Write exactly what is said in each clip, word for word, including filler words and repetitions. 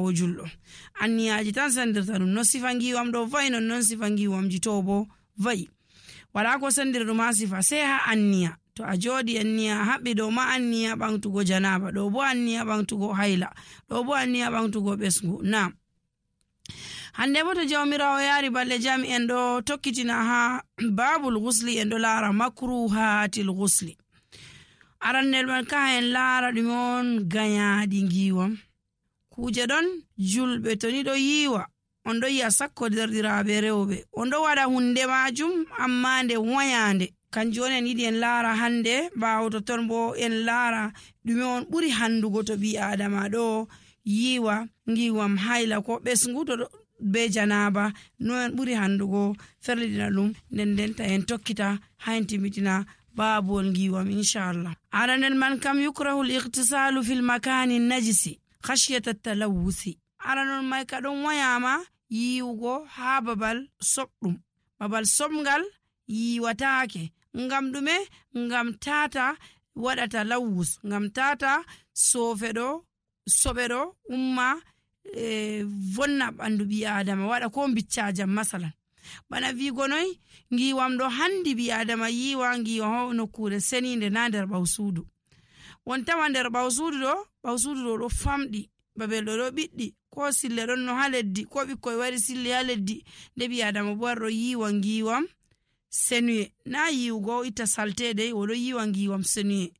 ɓaawo julɗo. Anniyaji tan sendirta ɗum. No sifa ngiwam ɗo va'i non non sifa ngiwamji to bo va'i. Wala ko sendiri ɗum ha sifa sai ha anniya. To a jodi anniya haɓɓi ɗo ma anniya ɓantugo janaba, ɗo bo anniya ɓantugo haila, ɗo bo anniya ɓantugo ɓesgu. Na hande bo to jawmirawo yari balɗe jam en ɗo tokkitina ha babul ghusli en ɗo lara makruhatil ghusli. Arannel man ka en lara ɗume on gayaɗi ngiwam. Kuje ɗon julɓe to ni ɗo yiwa on ɗo yi'a sakko derdiraɓe rewɓe on ɗo waɗa hunde majum amma nde wayande. Kanjum on en yiɗi en lara hande. Ɓawo to ton bo en lara ɗume on ɓuri handugo to ɓi adama ɗo yiwa ngiwam haila ko ɓesgu to be janaba, no en ɓuri handugo ferliɗina ɗum nden ndenta en tokkita ha en timmitina babol ngiwam inchallah. Aranel man kam yukrahu al-ightisalu fil makani najisi khashyata at-talawuthi. Aranol mai ka ɗon wayama yiwugo ha babal soɓɗum, babal soɓngal yiwatake. Ngam ɗume? Ngam tata waɗata lawus, ngam tata sofeɗo soɓeɗo umma e vonna ɓandu ɓi adama waɗa ko biccajam masalan. Bana vigo noy ngiwam ɗo handi ɓi adama yiwa ngiwa ho nokkure seninde na nder ɓawsudu. Won tawa nder ɓawsudu ɗo ɓawsudu ɗo ɗo famɗi, babel ɗo ɗo ɓiɗɗi, ko sille ɗon no ha leddi, ko ɓikkoy wari sille ha leddi, nde ɓi adama bo ɗo yiwa ngiwam senuye. Na yiwugo itta saltede, oɗo yiwa ngiwam senuye.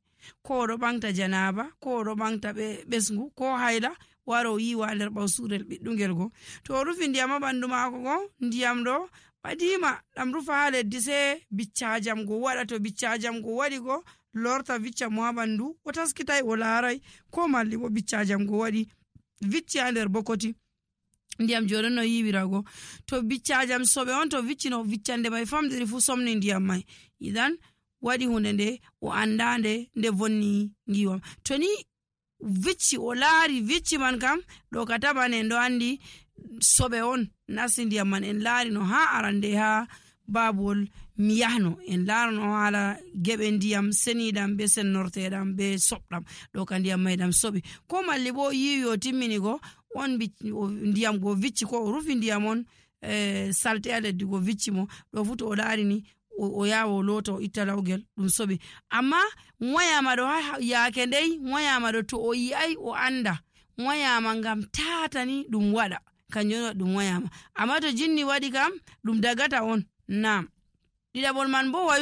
Ko oɗo ɓangta janaba, ko oɗo ɓangta ɓesgu, ko hayla, waro yiwa nder ɓawsurel ɓiɗɗungel go. To o rufi ndiyam ha ɓandu mako go, ndiyam ɗo ɓadima ɗam rufa ha leddi, sai biccajam go waɗa. To biccajam go waɗi go lorta vicca mo ha ɓandu, o taskitai o larai, ko malli bo biccajam go waɗi vicci ha nder bokoti ndiyam joɗon no yiwirago. To biccajam soɓe on to viccino viccande mai famdiri fu somni ndiyam mai, idan waɗi hunde nde o andande nde vonni ngiwam. To ni vicci o laari vicci man kam ɗo ka taban en ɗo andi soɓe on nasti ndiyam man. En laari no ha arande ha babol mi yahno en larano hala geɓe ndiyam seniɗam be sennorteɗam be soɓɗam, ɗo ka ndiyam mai ɗam soɓi. Ko malli bo yiwi o timmini go on ndiyam go vicci, ko o rufi ndiyam on e salte a leddi go vicci mo, ɗo fu to o larini o yawa o lota o itta lawgel ɗum soɓi. Amma wayama ɗo ha yaake ndey wayama ɗo to o yi'ai o anda wayama ngam tatani ɗum waɗa, kanjum on ɗum wayama. Amma to jinni waɗi kam ɗum dagata on. Nam ɗiɗaɓol man bo wa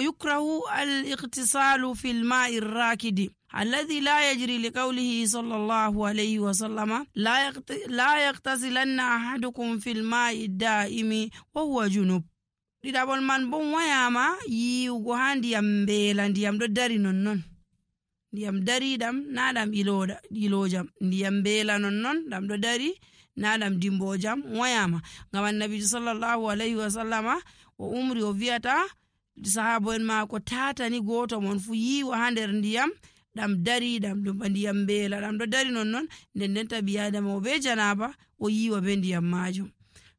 yukrahu al-iqtisalu fil ma'i rakidi alladhi la yajri li qawlihi sallallahu alayhi wa sallama la yaqtasilanna ahadukum fil ma'i da'imi wa huwa junub. Ɗiɗaɓol man bo wayama yiwugo ha ndiyam mbeela, ndiyam ɗo dari nonnon, ndiyam dariɗam na ɗam ilojam, ndiyam mbeela nonnon ɗam ɗo dari na ɗam dimbojam wayama. Ngam annabi sallallahu alayhi wa sallama o umri o viyata sahabo en mako tatani goto mon fu yiwa ha nder ndiyam ɗam dari ɗam ɗum ndiyam mbeela ɗam ɗo dari nonnon, nden nden tabi adama o be janaba o yiwa be ndiyam majum.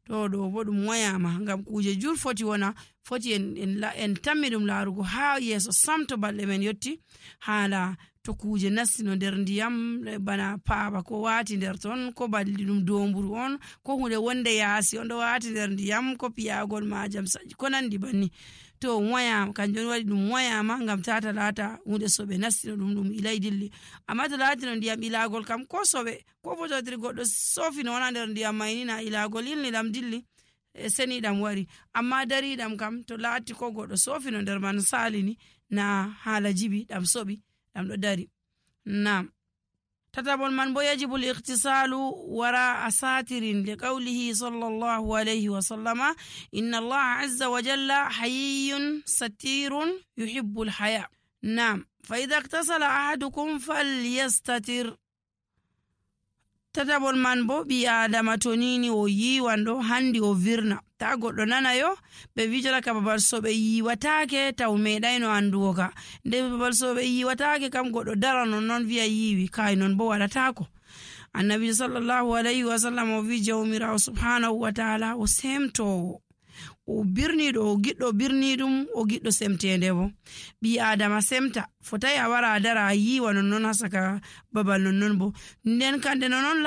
To ɗo bo ɗum wayama ngam kuje jur foti wona foti en, en, en tammi ɗum larugo ha yeso samto balɗe men yotti, hala to kuje nastino nder ndiyam bana paaba ko wati nder ton, ko balli ɗum domburu on, ko hunde wonde yaasi on ɗo wati nder ndiyam, ko piyagol majam saji ko nandi banni. To wayama kanjum waɗi ɗum wayama ngam tata lata hunde soɓe nastino ɗum ɗum ilay dilli. Amma to latino ndiyam ilagol kam ko soɓe ko fototiri goɗɗo sofino wona nder ndiyam mayni na ilagol ilni ɗam dilli e seni ɗam wari. Amma dariɗam kam to lati ko goɗɗo sofino nder man salini na hala jibi ɗam soɓi ɗam ɗo dari. Nam tatabol man bo yajibu al-iqtisalu wara asatirin li qawlihi sallallahu alayhi wa sallama inna Allah azza wa jalla hayyun satirun yuhibbu al-haya. Nam fa idha iktasala ahadukum falyastatir. Tatabol man bo ɓi adama to nini o yiwan ɗo handi o virna ta goɗɗo nana yo ɓe vijala ka babal soɓe yiwatake taw meɗayno andugo ka, nde babal soɓe yiwatake kam goɗɗo dara non non viya yiwi, kay non bo waɗatako. Annabi sallallahu alayhi wa sallam o vi jawmirawo subhanahu wa ta'ala o semtowo o birniɗo o giɗɗo birniɗum o giɗɗo semtende bo. Ɓi adama semta fotai a wara a dara a yiwa nonnon ha saka babal nonnon bo, nden kande nonnon